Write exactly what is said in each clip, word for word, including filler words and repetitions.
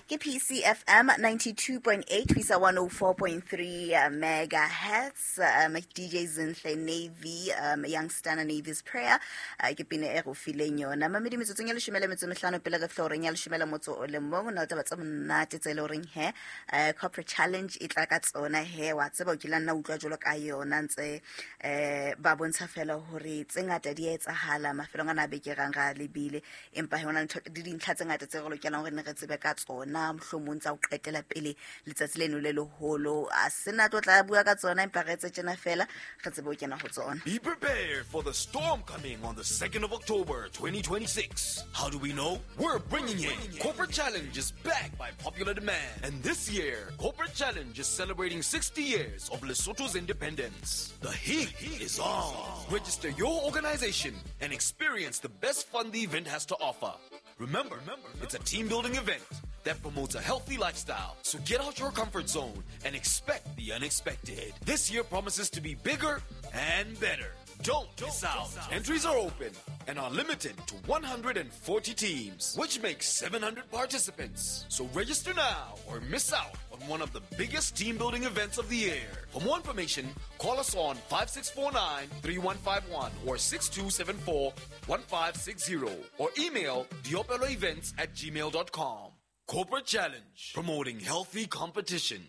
Ke P C F M ninety-two point eight ho isa one oh four point three uh, megahertz. um, D J Zinhle Navy, um, Youngstana Navy's Prayer, uh, ke pina e go fileng yona mamedi metsotsong ya leshome le metso e mehlano pele re fihla horeng ya leshome le motso o le mong. O na le taba tse monate tse e le horeng he uh, Corporate Challenge e tla ka tsona. He wa tseba o kile nna utlwa jwalo ka yona ntse eh ba bontsha fela hore tse ngata di a etsahala mafelong ana a beke rang ra lebile, empa he hona le ntho- le dintlha tse ngata tse re lokelang hore ne re tsebe ka tsona, mohlomong tsa ho qetela pele letsatsi leno le leholo. A sena tlo tla bua ka tsona, empa re etse tjena fela re tsebe ho kena ho tsona. Be prepared for the storm coming on the second of October twenty twenty-six. How do we know? We're bringing it. Corporate Challenge is back by popular demand. And this year, Corporate Challenge is celebrating sixty years of Lesotho's independence. The heat is on. Register your organization and experience the best fun the event has to offer. Remember, it's a team building event that promotes a healthy lifestyle. So get out your comfort zone and expect the unexpected. This year promises to be bigger and better. Don't miss out. Entries are open and are limited to one hundred forty teams, which makes seven hundred participants. So register now or miss out on one of the biggest team building events of the year. For more information, call us on five six four nine three one five one or six two seven four one five six zero or email diopeloevents at gmail dot com. Corporate Challenge, promoting healthy competition.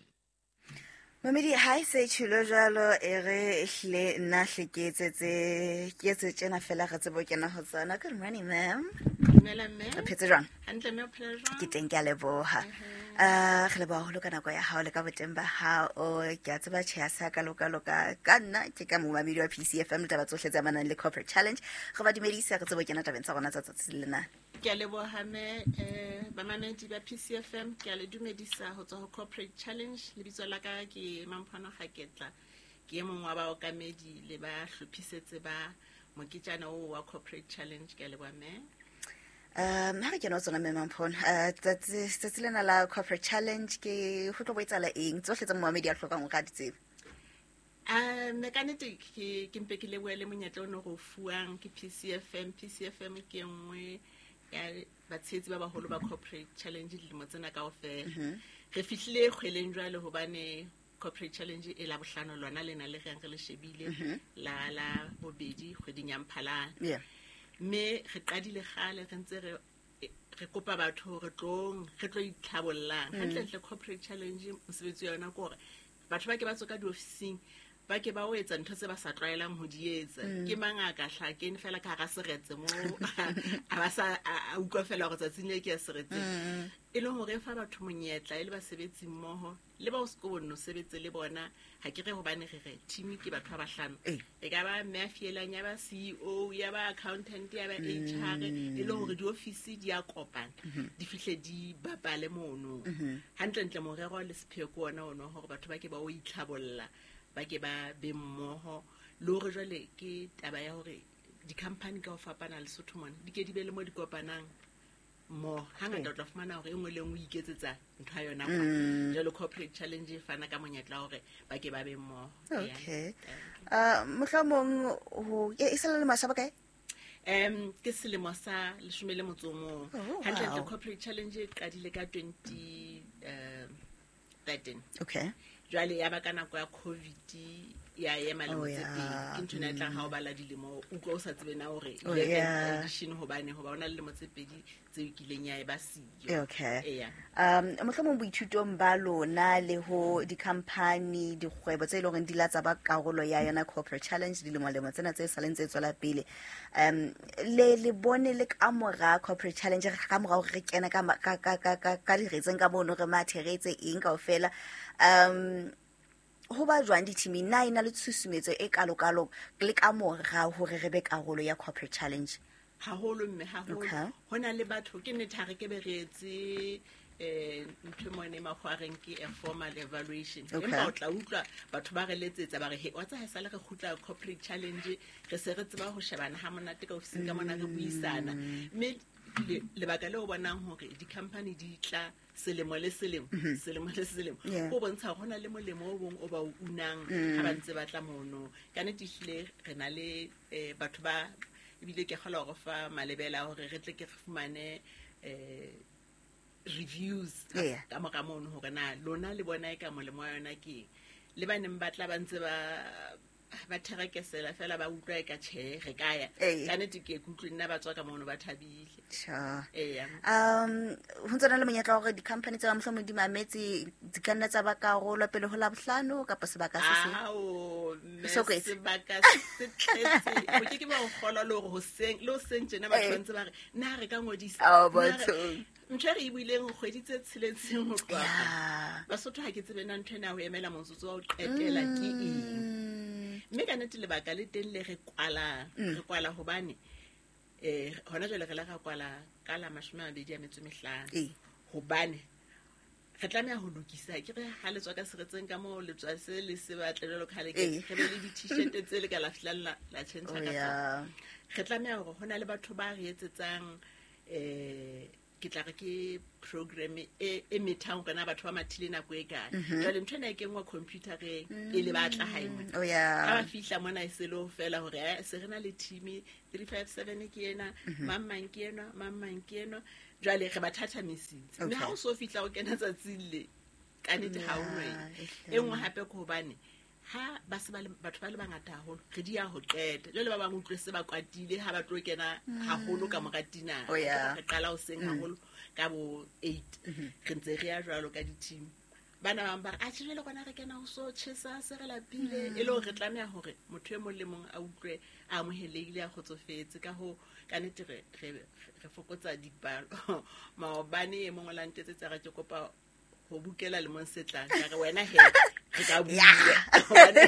Mamedi, ha e se tjhelo jwalo, e re ehlile nna hle ke etsetse ke etse tjena fela re tsebe ho kena ho tsona. Good morning, ma'am. Dumela, mme. O phetse jwang? Hantle, mme, o phela jwang? Ke teng, ke a leboha. uh re leboha haholo ka nako ya hao le ka boteng ba hao. Ke a tseba tjhe ya sa ka loka-loka ka nna ke ka momamedi wa P C F M le taba tsohle tse amanang le Corporate Challenge. Re ba dumedise, re tsebe ho kena tabeng tsa rona tsa tsatsi lena. Ke a leboha, mme. um bamamedi ba P C F M, ke a le dumedisa ho tswa ho Corporate Challenge. Lebitso la ka ke Mamphano Gaketla, ke e mong wa baokamedi le ba hlophisetse ba moketjana oo wa Corporate Challenge. Ke a leboha, mme. um ha re kena ho tsona, mme Mamphono, uh, tsatsi tsatsi lena la Corporate Challenge ke ho tlo bo etsahala eng, tsohle tse momamedi a hlokang hore a di tsebe? Um ka nnete ke ke mpe ke lebohe le monyetla o ne re o fuwang ke P C F M. P C F M ke e nngwe ya batshehetsi ba baholo ba Corporate Challenge dilemo tsena kaofela. Re fihlile kgweleng jwale hobane Corporate Challenge e Labohlano lona lena le reng re le shebile la la bobedi kgweding ya Mphalane. Yeah mme re qadile kgale re ntse re re kopa batho hore tlong re tlo itlhabollang. Hantlentle, Corporate Challenge mosebetsi wa yona ke hore batho ba ke ba tswe ka diofising, ba ke ba o etsa ntho tse ba sa tlwaelang ho di etsa. Ke mang a ka hla kene fela ka hara seretse mo a ba sa a a utlwa fela hore tsatsing le ke ya seretseng, e leng hore e fa batho monyetla e le basebetsi mmoho le ba o seko bonno sebetse le bona. Ha ke re hobane re re team ke batho ba bahlano. Eh. E ka ba mme a fielang, ya ba C E O, ya ba accountant, ya ba H R, e le hore diofisi di a kopana, di fihle di bapale mono. Hantlentle, morero le sepheo ke ona ono hore batho ba ke ba o itlhabolla, ba ke ba be mmoho, le hore jwale ke taba ya hore di-company ka ho fapana Lesotho mona di ke di be le mo di kopanang mmoho. Hangata o tla fumana hore e nngwe le e nngwe e iketsetsa ntho ya yona kwa. Jwale Corporate Challenge e fana ka monyetla wa hore ba ke ba be mmoho. Okay, uh mohlomong ho e e sala le masha ba kae? um ke selemo sa leshome le motso o mong. Oh, Hantlentle, wow. Corporate Challenge e qadile ka twenty thirteen. Okay jwale ya ba ka nako ya COVID ya ema lemo Oh, tse yeah. pedi. Ke ntho ena e tlang ha o bala dilemo, o utlwa o sa tsebe na hore Oh, eleventh yeah. edition, hobane hoba o na le lemo tse pedi tseo kileng ya e ba siyo. Okay Eya. um mohlomong boithutong ba lona le ho di-company, dikgwebo tse e leng hore di la tsa ba karolo ya yona Corporate Challenge dilemo-lemo tsena tse saleng tse tswela pele, um le le bone le ka mora Corporate Challenge, ka mora hore re kene ka ma- ka ka ka ka ka diretseng ka mono, re mathe, re etse eng kaofela, um ho ba jwang di-teaming? Na e na le tshusumetso e kalo-kalo le ka mora hore re be karolo ya Corporate Challenge? Haholo, mme, haholo. Okay. Ho na le batho, ke nnete, ha re ke be re etse um ntho e mone makgwareng ke a formal evaluation, Okay. empa o tla utlwa batho ba re letsetsa ba re, "He, wa tsa haesale re kgutla Corporate Challenge, re se re tseba ho shebana ha monate ka ofising ka mona, re buisana." Mme le- lebaka leo o bonang hore di-company di tla selemo le selemo, selemo le selemo, Yeah. ho bontsha hore ho na le molemo o bong o ba o unang ha ba ntse ba tla mono. Ka nnete, ehlile re na le um batho ba ebile ke kgolwa hore fa malebela hore re tle ke re fumane um di-reviews Yeah. ka mora mono hore na lona le bona e ka molemo wa yona ke eng. Le ba neng ba tla ba ntse ba ba therekesela fela ba utlwa e ka tjhe re ka ya. Ee. Ka nnete ke ke utlwe nna ba tswa ka mono ba thabile. Sure. Eya. Um ho ntse na le monyetla wa hore di-company tse ba mohlomong di mametse di ka nna tsa ba karolo pele ho Labohlano kapa sebaka se seng. Ao, mme So kwetse. sebaka se tletse. O ke ke ba o kgolwa le hore hoseng, le hoseng tjena batho Eh. ba ntse ba re, na re ka ngodisa? Ao, Na re- bathong. Ntho e re e buileng kgwedi tse tsheletseng ho tloha. Yeah. Basotho ha ke tsebe na ntho ena ho emela motsotso wa ho qetela ke eng. Mm. Mme ka nnete lebaka le teng le re kwalang. Re kwala hobane eh hona jwale re la ra kwala ka la mashome a mabedi a metso e mehlano. Ee. Hobane re tlameha ho lokisa ke re ha le tswa ka seretseng ka moo le tswa se le se batle jwalo ka ha le ke Ee. re be le di-t-shirt tse le ka la fihlang la la tjhentjha Oh, ka tsona. yeah. Re tlameha hore ho na le batho ba re etsetsang eh ke tla re ke program e e methang hore na batho ba mathile nako e kae. Jwale ntho ena e kenngwa computer-eng pele ba tla hae mona. Oh, yeah. Ha ba fihla mona e se le ho fela hore eh, se re na le team three five seven ke ena, mang mang ke enwa, mang mang ke enwa. Jwale re ba thathamisitse. Mme Okay. ha o so fihla o kena tsatsing le, ka nnete ha o no Yeah, eng. ehlile. E nngwe hape ke hobane ha ba se ba le batho ba le bangata haholo, re di ya ho qeta. Jwale ba bang utlwe se ba kwatile ha ba tlo kena haholo ka mora dinner. Oh, yeah. Re qala hoseng haholo ka bo eight. Re ntse re ya jwalo ka di-team. Bana ba bang ba re, atjhe jwale rona re kena ho so tjhesa se re lapile. E le hore re tlameha hore motho e mong le mong a utlwe a amohelehile, a kgotsofetse. Ka hoo, ka nnete re, re, re fokotsa dipalo. Maobane e mong o la ntetsetsa a re ke kopa ho bukela lemong se tlang. Ka re wena he, re ka bua. Hobane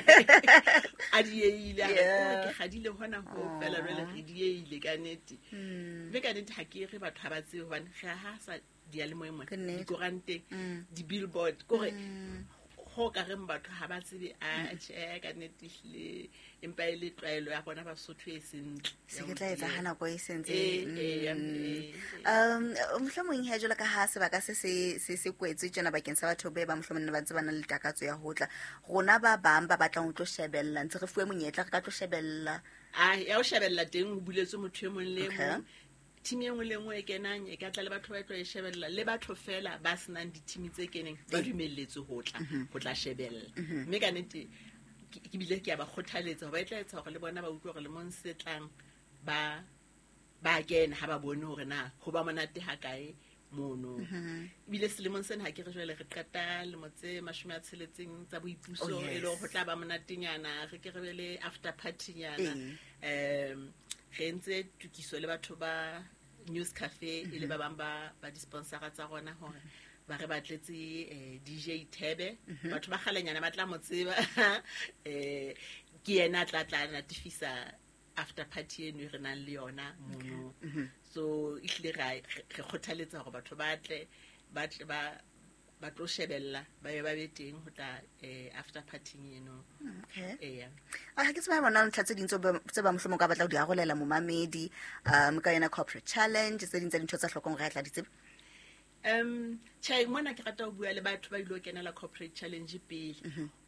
a dieile, a re, Yeah. oh, ke kgadile hona ho fela jwale re dieile ka nnete. Mme ka nnete ha ke re batho ha ba tsebe hobane re ha sa diyalemoyeng mona, Ke nnete. dikoranteng, di-billboard, ke hore ho ka reng batho ha ba tsebe, a tjhe, ka nnete ehlile empa e le tlwaelo ya rona Basotho e sentle. Se ke tla etsa ha nako e sentse. Eh, eh, ya, Mm. eh, eh. Um mohlomong he jwalo ka ha sebaka se se se se kwetswe tjena bakeng sa batho be ba mohlomong ne ba ntse ba na le takatso ya ho tla. Rona ba bang ba batlang ho tlo shebella ntse re fuwe monyetla re ka tlo shebella. Ah, ya ho shebella teng ho buletswe motho e mong le e Okay. mong. Team e nngwe le e nngwe e kenang e ka tla le batho ba tlo e shebella, le batho fela ba senang di-team tse keneng ba Ee. dumelletswe ho tla, ho tla shebella. Mme ka nnete ke ke bile ke a ba kgothaletsa hoba e tla etsa hore le bona ba utlwe hore lemong se tlang ba ba kena ha ba bone hore na ho ba monate ha kae mono. Ebile selemong sena ha ke re jwale re qeta lemo tse mashome a tsheletseng tsa boipuso, Oh, e le hore ho yes. tla ba monatenyana, re ke re be le after party-nyana. Ee. Um re entse tokiso le batho ba News Cafe e le ba bang ba ba di-sponsora tsa rona hore ba re batletse eh, D J Thebe. Batho ba kgalenyana ba tla mo tseba. Eh, ke yena a tla tla natefisa after party eno e re nang le yona mono. So ehlile ra re kgothaletsa hore batho ba tle, ba tle ba ba tlo shebella, ba be ba be teng ho tla, eh, after party eno. Okay. Eya. Ah, ha ke tsebe ha bona ntlha tse ding tse ba tse ba mohlomong ka batla ho di arolela momamedi, um ka yona corporate challenge, tse ding tsa dintho tsa hlokang hore a tla di tseba. Um, tjhe, mona ke rata ho bua le batho ba ilo kenela corporate challenge pele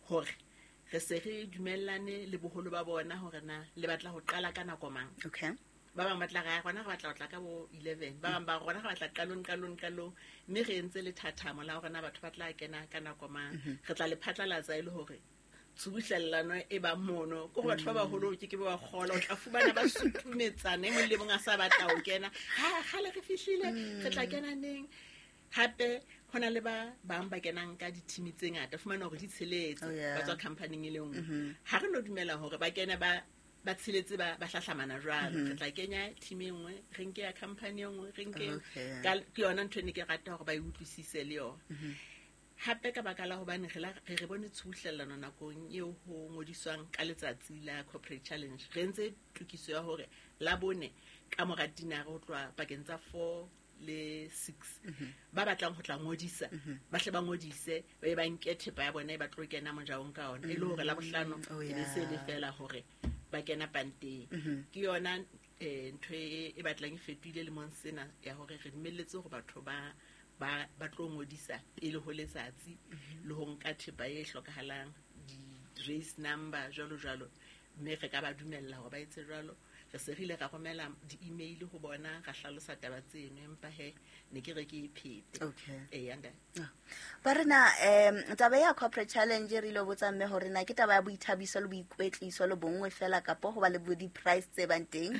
hore re se re dumellane le boholo ba bona hore na le batla ho qala ka nako mang. Okay. Ba bang ba tla re, rona re batla ho tla ka bo eleven, ba bang ba rona re batla qalong, qalong, qalong, mme re entse lethathamo la hore na batho ba tla kena ka nako mang. Re tla le phatlalatsa e le hore tshubuhlellano e ba mono. Ke hore batho ba baholo ke ke ba kgola, o tla fumana ba sutumetsana, e mong le mong a sa batla ho kena. Ha kgale re fihlile, re tla kena neng? Hape ho na le ba bang ba kenang ka di-team tse ngata, fumana hore di tsheletse, Oh, yeah. ba tswa company-eng e le nngwe. Ha re no dumela hore ba kene ba ba tsheletse ba, ba hlahlamana jwalo. Re tla kenya team e nngwe, re nke ya company e nngwe, re nke Okay. ka, ke yona ntho e ne ke rata hore ba e utlwisise le yona. Hape ka baka la hobane re la, re re bone tshubuhlellano nakong eo ho ngodiswang ka letsatsi la corporate challenge. Re entse tokiso ya hore la bone ka mora dinare ho tloha pakeng tsa four le six. Ba batlang ho tla ngodisa, ba hle ba ngodise, ba be ba nke thepa ya bona e ba tlo kena mojaong ka yona. E le hore la bohlano Oh, e be se le yeah. fela hore ba kena panteng. Ke yona, eh, ntho e, e batlang e fetohile lemong sena ya hore re dumelletse hore batho ba, ba, ba tlo ngodisa pele ho letsatsi le ho nka thepa e hlokahalang, di-race number jwalo jwalo, mme re ka ba dumella hore ba etse jwalo. Re se re ile ra romela di-email ho bona, ra hlalosa taba tseno, empa he ne ke re ke e phete. Okay. Eya, ntate. Ba rena um taba ya corporate challenge re ile botsa mme hore na ke taba ya boithabiso le boikwetliso le bonngwe fela kapo ho ba le bo di-price tse bang teng.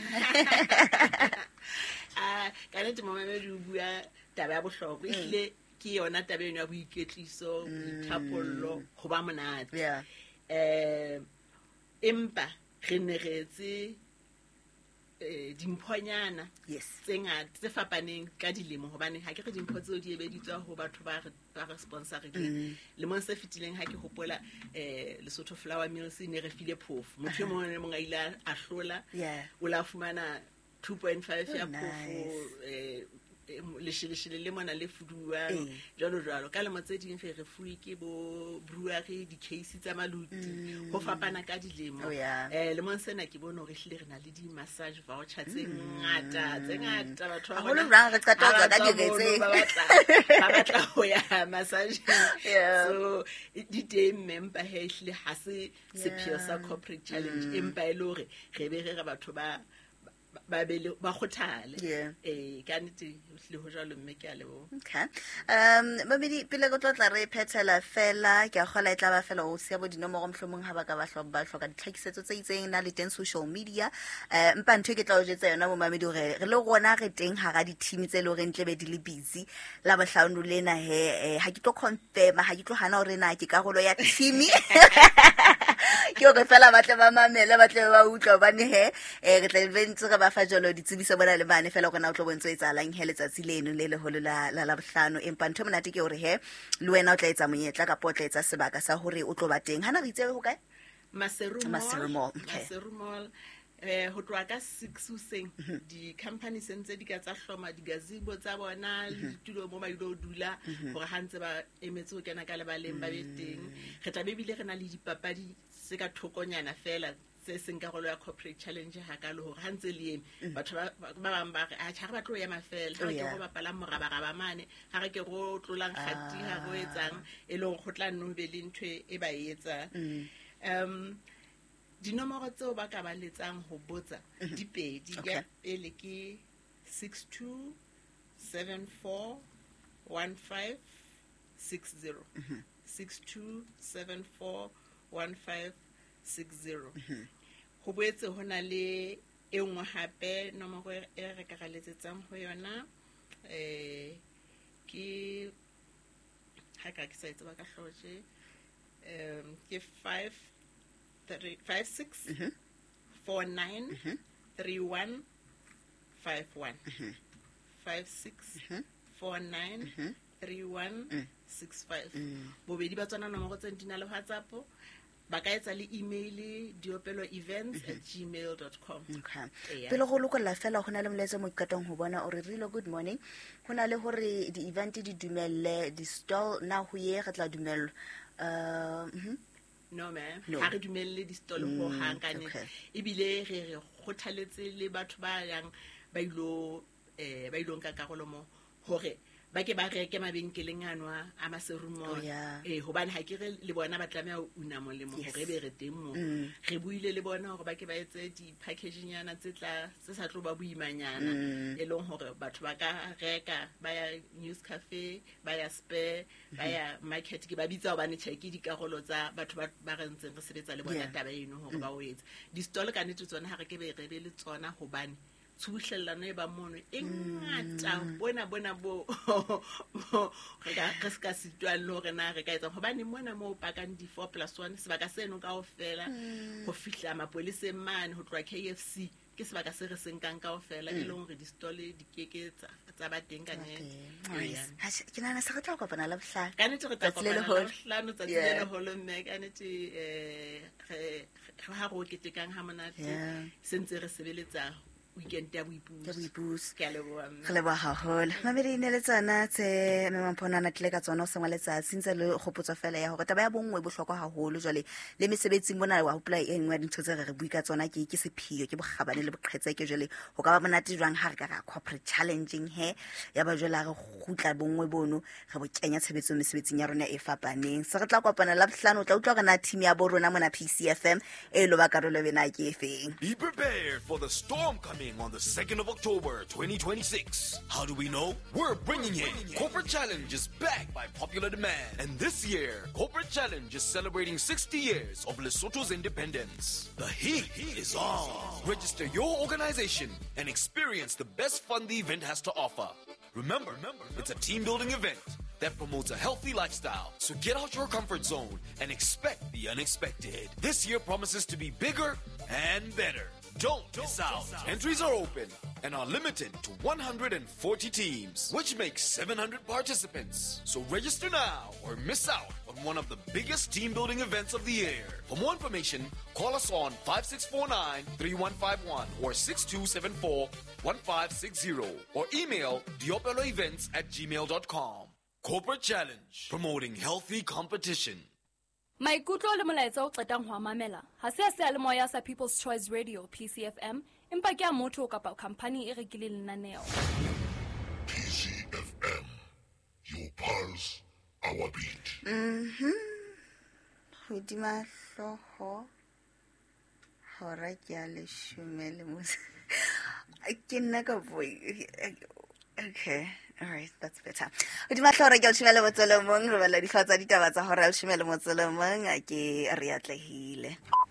Ah, ka nnete momamedi o bua taba ya bohlokwa. Ehlile ke yona taba eno ya boikwetliso, boithapollo, ho ba monate. Yeah. Eh, empa re ne re etse eh dimphonyana Yes. tse ngata tse fapaneng ka dilemo, hobane ha ke re dimpho tseo di ebeditswa ho batho ba re ba re sponsorileng. Lemong se fetileng ha ke hopola, eh Lesotho Flour Mills ne re file phofo. Motho e mong le mong a ile a hlola. Yeah. O la fumana two point five ya Oh, phofo, nice. eh, eh, lesheleshele le mona le fuduwang, Eh. jwalo jwalo. Ka lemo tse ding re re fuwe ke bo brewery, di-case tsa maluti, ho fapana ka dilemo. Oh, yeah. Eh, lemong sena ke bone hore ehlile re na le di-massage voucher tse ngata, tse ngata. Batho ba Haholo rona jwang re qeta ho ha tswa ka ba tswa diretseng. mono, ba batla, ba batla ho ya massageng. Yeah. So, di teng mme, empa he ehlile ha se sepheo sa Yeah. corporate challenge, empa e le hore re be re re batho ba ba be le ba kgothale. Yeah. Eh, ka nnete ho hlile ho jwalo mme, ke a leboha. Okay. Um mamedi, pele re tlo tla re phethela fela, ke a kgola e tla ba fela o siya bo dinomoro mohlomong ha ba ka ba hlo- ba hloka ditlhakisetso tse itseng na le teng social media. Eh, empa ntho e ke tla o jwetsa yona momamedi hore re le rona re teng hara di-team tse leng horeng tlebe di le busy la bohlano lena he, eh, ha ke tlo confirm, ha ke tlo hana hore na ke karolo ya team. Ke hore fela ba tle ba mamele, ba tle ba utlwe, hobane he, eh, re tla be ntse re ba fa jwalo ditsebiso bona le mane fela hore na o tlo bontse o etsahalang he letsatsi leno le leholo la, la Labohlano. Empa ntho e monate ke hore he le wena o tla etsa monyetla kapa o tla etsa sebaka sa hore o tlo ba teng. Hana re itse ho kae? Maseru Mall. Maseru Mall, okay. Maseru Mall. Eh, ho tloha ka six hoseng, di-company se ntse di ka tsa hloma di-gazebo tsa bona le ditulo mo ba ilo dula, hore ha ntse ba emetse ho kena ka lebaleng ba be teng. Re tla be ebile re na le dipapadi tse ka thokonyana fela tse seng karolo ya corporate challenge hakalo, hore ha ntse le eme batho ba ba bang ba re, atjhe, ha re batle ho ema fela, ha Oh, re ke yeah. go bapalang morabaraba mane, ha re ke go tlolang kgati, ha re o etsang, e leng hore ho tla nno be le ntho e ba e etsang. Um dinomoro tseo ba ka ba letsang ho botsa di pedi. Okay. Ya pele ke six two seven four one five six zero. Six two seven four one five six zero. Ho boetse ho na le e nngwe hape nomoro e re ka ra letsetsang ho yona, eh, ke ha ka ke sa e tseba ka hlooho tje, um ke five three five six four nine three one five one. Five six four nine three one six five. Bobedi ba tsona nomoro tse di na le WhatsApp. Ba ka etsa le email, diopelo events at gmail dot com. Okay. Eya. Pele go lokolla fela, ho na le molaetsa mo ke qetang ho bona o re Rilo, good morning. Ho na le hore di-event di dumelle di-stall na ho ye re tla dumellwa. Uh, mhm. No, ma'am. No. Ha re dumelle di-stall ho hang ka nnete. okay. Ebile re re kgothaletse le batho ba yang ba ilo, eh, ba ilo nka karolo mo hore ba ke ba reke mabenkeleng ano a, a Maseru Mall. Oh, yeah. Eh, hobane ha ke re le bona ba tlameha ho una molemo Yes. hore ebe re teng moo. Mm. Re buile le bona hore ba ke ba etse di-package-nyana tse tla, tse sa tlo ba boimanyana, Mm. e leng hore batho ba ka reka, ba ya News Cafe, ba ya Spur, ba ya Market. Ke ba bitsa hobane tjhe ke dikarolo tsa batho ba, ba re ntseng re sebetsa le bona Yeah. taba eno hore ba o etse. Di-stall ka nnete tsona ha re ke be re be le tsona, hobane tshubuhlellano e ba mono e ngata, bona bona bo re ka, re se ka sitwang le hore na re ka etsang, hobane mona moo o pakang di-four plus one, sebaka seno kaofela ho fihla mapoleseng mane ho tloha K F C ke sebaka se re se nkang kaofela, e leng hore di-stall di keke tsa, tsa ba teng ka nnete. Nice. Eya. Ha, ke nahana se re tla kopana Labohlano. Ka nnete re tla Tsatsi le kopana leholo. Labohlano, tsatsi le Yeah. leholo mme ka nnete, eh, re, re ha re o ketekang ha monate, Yeah. se ntse re sebeletsa weekend ya boipuso. Ya boipuso. Ke a leboha mme. Re leboha haholo. Mamedi ne le tsona tse Mme Mampho a tlile ka tsona o sengwa letsatsi ntse le kgopotso fela ya hore taba ya bonngwe e bohlokwa haholo jwale le mesebetsing mona wa hopola e nngwe ya dintho tse re re bui ka tsona ke ke sephio ke bokgabane le boqhetseke jwale ho ka ba monate jwang ha re ka ra corporate challenging he ya ba jwale ha re kgutla bonngwe bono re bo kenya tshebetsong mesebetsing ya rona e fapaneng. Se re tla kopana la bohlano o tla utlwa hore na team ya bo rona mona P C F M e lo ba karolo bena ke efeng. Be prepared for the storm coming on the second of October twenty twenty-six. How do we know? We're bringing it. Corporate Challenge is back by popular demand. And this year, Corporate Challenge is celebrating sixty years of Lesotho's independence. The heat is on. Register your organization and experience the best fun the event has to offer. Remember, it's a team-building event that promotes a healthy lifestyle. So get out your comfort zone and expect the unexpected. This year promises to be bigger and better. Don't miss out. Entries are open and are limited to one hundred forty teams, which makes seven hundred participants. So register now or miss out on one of the biggest team-building events of the year. For more information, call us on five six four nine, three one five one or six two seven four, one five six zero or email diopeloevents at gmail dot com. Corporate Challenge, promoting healthy competition. Maikutlo le molaetsa o qetang ho a mamela ha se a seyalemoya sa People's Choice Radio P C F M, empa ke a motho kapa khampani e rekileng lenaneo. P C F M, your pulse, our beat. Mhm. Hodima hlooho hora ke ya leshome le motso. Ke nna ka boi. Okay. All right, that's better. Hodima hlooho ke leshome le motso le mong, re bala dihlooho tsa ditaba tsa hora ya leshome le motso le mong, ke re atlehile.